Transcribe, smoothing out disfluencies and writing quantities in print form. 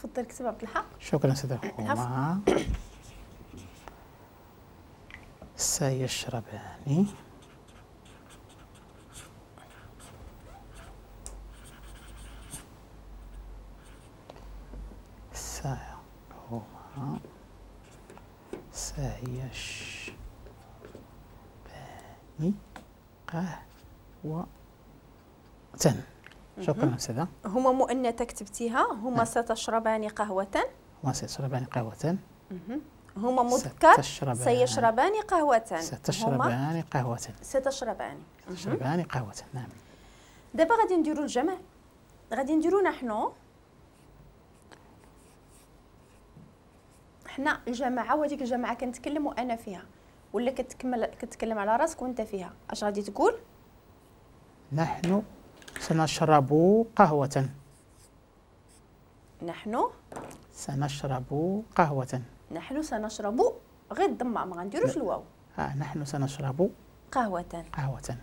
تفضل كتب عبد الحق. شكرا سيدة. هما سيشربان هما سيشربان قهوة. شكرا أستاذة. هما مؤنثة كتبتيها. هما ستشربان قهوة. هما سيشربان قهوة. هما مذكر سيشربان قهوة. ستشربان قهوة. ستشربان. ستشربان قهوة. نعم. دابا غادي نديرو الجمع، غادي نديرو نحن، حنا الجماعة، وهذيك الجماعة كنتكلم وأنا فيها، ولا كتكلم على راسك وأنت فيها. اش غادي تقول؟ نحن سنشرب قهوة. نحن سنشرب قهوة. نحن سنشرب، غير الضمة ما غنديروش الواو. نحن سنشرب قهوة. قهوة.